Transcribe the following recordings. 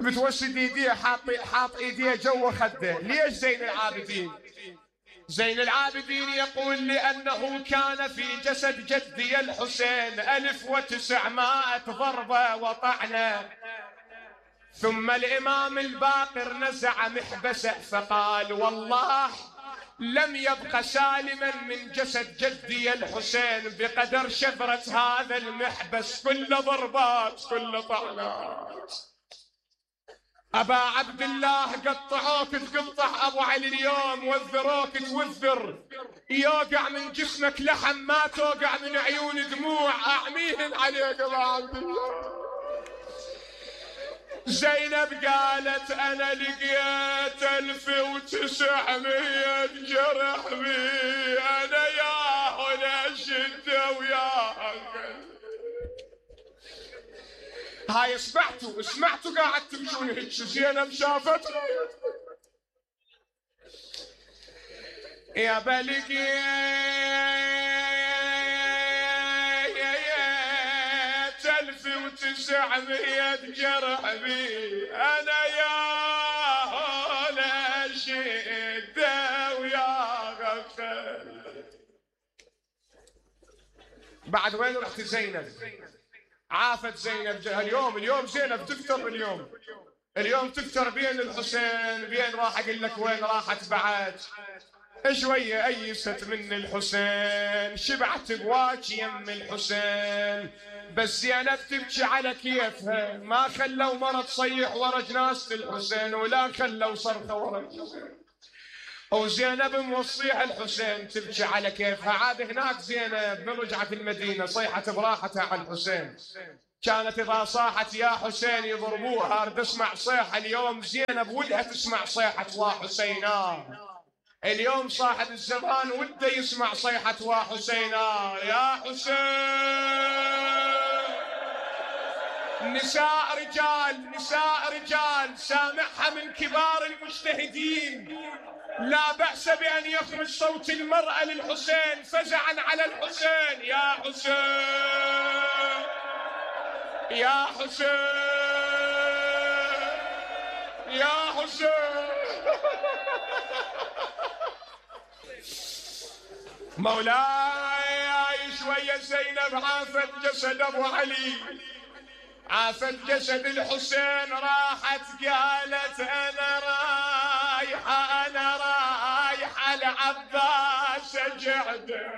بتوسد ايديه حاط ايديه جوا خده. ليش زين العابدين؟ زين العابدين يقول لأنه كان في جسد جدي الحسين 1900 ضربة وطعنة، ثم الإمام الباقر نزع محبسه فقال والله لم يبق سالما من جسد جدي الحسين بقدر شفرة هذا المحبس، كل ضربات كل طعنات. أبا عبد الله قطعوك تقطع أبو علي اليوم، وذروك توذر، يوقع من جسمك لحم ما توقع من عيون دموع، أعميهن عليك أبا عبد الله. زينب قالت أنا لقيت 1900 جرح بي، أنا يا هنا شدة ويا هاي سمعتوا قاعد تمشون هيك. زينب شافت يا بلقي 1900 جرح بي، أنا يا هلا شدة ويا غفل. بعد وين رحت زينب؟ عافت زينب اليوم زينب تكثر، اليوم تكثر بين الحسين، بين راح اقول لك وين راحت بعد. شويه ايست من الحسين، شبعت بواك يم الحسين، بس زينب تبكي على كيفها، ما خلوا مرة تصيح ورا جنازة الحسين ولا خلوا صرخة ورا الحسين. وزينب موصيح الحسين تبكي على كيفها. عاد هناك زينب من رجعت المدينة صيحت براحتها على الحسين، كانت إذا صاحت يا حسين يضربوها. أرد أسمع صيحة اليوم زينب ودها تسمع صيحة وحسينا. اليوم صاحب الزمان وده يسمع صيحة وحسينا يا حسين. نساء رجال سامعها من كبار المجتهدين، لا بأس بأن يخرج صوت المرأة للحسين فزعا على الحسين. يا حسين يا حسين يا حسين. مولاي شوية زينب عافت جسد أبو علي، عافت جسد الحسين، راحت قالت أنا رايحة العباس أجعده.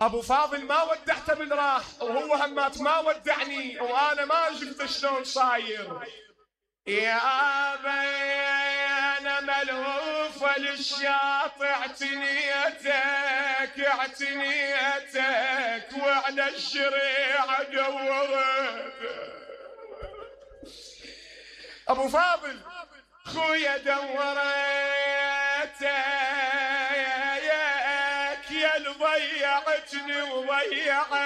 أبو فاضل ما ودعته من راح، وهو همات ما ودعني، وأنا ما شفت شلون صاير. يا أبي أنا ملهوفة للشاطئ، اعتنيتك وعلى الشريعة دورت. أبو فاضل خويا دورتك يا اللي ضيعتني وضيعتك.